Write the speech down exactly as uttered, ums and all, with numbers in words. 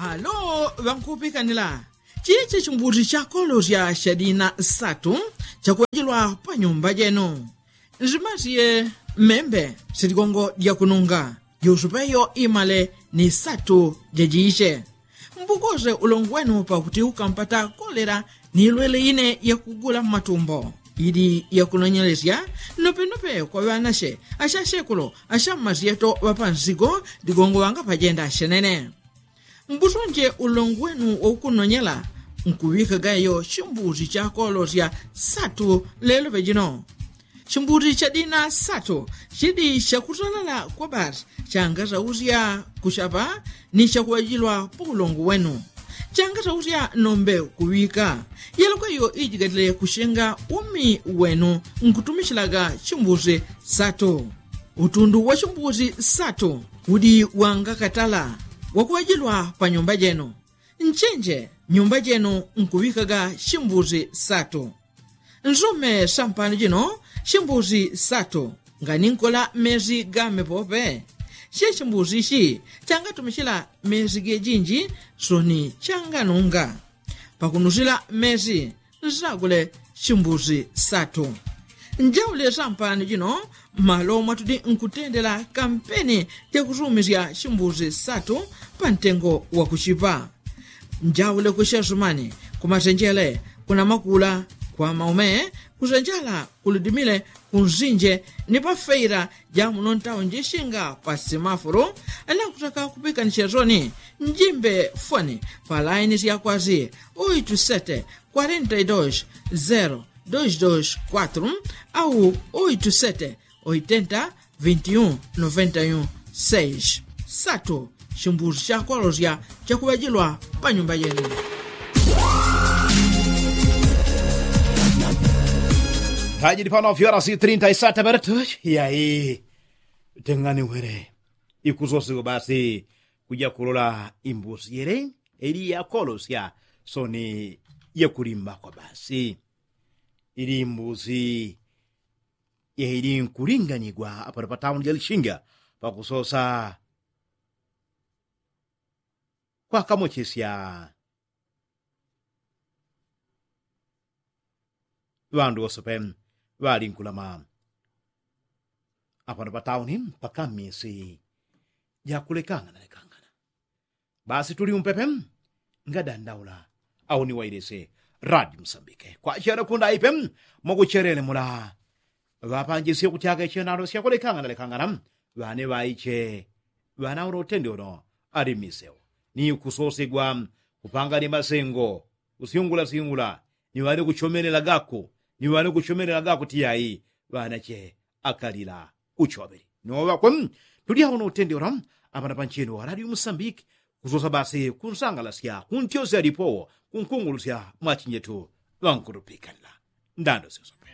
Alo ŵankupikanila, chichi chimbuti chakolosya chadina satu chakuŵajilwa pa nyumba jenu. Nzimasye mmembe siligongo jakununga, jusupeyo imale ni satu jajiche. Mbukose ulongo wenu pakuti ukampata kolela ni lwele ine yakugula mmatumbo. Ili yakunonyelesya nopenope kwa ŵanache achasekolo achammasyeto ŵapansigo ligongo ŵangapajenda chenene. Mbusonje ulongo wenu waukunonyela nkuŵikagayo chimbuti chakolosya satu lelo pejino. Chimbuti chadina satu chidi chakutalala kwa basi changasausya kuchapa ni chakuŵajilwa pa ulongo wenu. Changasausya nombe kuŵika yelokweyo ijigatile kuchenga umi wenu nkutumichilaga chimbuti satu. Utundu wa chimbuti satu udi wangakatala wakuŵajilwa pa nyumba jenu. Nchenje nyumba jenu nkuŵikaga chimbuti satu. Nsume sampano jino chimbuti satu nganinkola mesi game pope. Che chimbuti ichi changatumichila mesi gejinji soni changanunga. Pakunusila mesi nsagule chimbuti satu. Njaule sampano jino malo mwatudi nkutendela kampeni jakusumisya chimbuti satu pa ntengo wakuchipa. Njaule kuchesumani, kumasenjele, kunamakula, kwamaume, kusenjala kuludimile, kunsinje ni pafeila jamuno ntawo njishinga pa simafulu. Nakutaka kupikanisya soni njimbe foni pa laini syakwasi oitu sete kwarenta i dos zero dos dos kwatru au oitu sete oitenta vinti un noventa i un seis. Satu chimbuti chakwalosya chakuŵajilwa pa nyumba jenu. Tajidi pano fiorasi trinta i sata minutu. Yai teng'ani wele ikusosiko basi kuja kulola imbusi yele ili yakolosya soni yakulimbakwa basi. Ili imbusi yaili nkulinganyigwa apano pa tauni ja lishinga pakusosa kwakamochesya ŵandu wosepe ŵalinkulama apano pa tauni mpaka mmisi jakulekangana lekangana. Basi tuli umpepe ngadandaula au ni wailese radi msambike kwachena kundaipe mwakuchelele mula. Ŵapanjisye kutyaka ichenalo syakulekangana lekangana ŵane ŵaiche ŵanaula utende uno ali mmiseu ni kusosegwa kupanga ni masengo kusyungulasyungula ni ŵane kuchomelela gaku ni ŵane kuchomelela gaku tiyai ŵanache akalila uchobeli. Noŵakwe tulyawo no utende ula apana pancheni wa radio musambiki kusosa basi kunsangalasya kuntyosya lipowo kunkungulusya mwachinjetu ŵankutupikanila ndando syosope.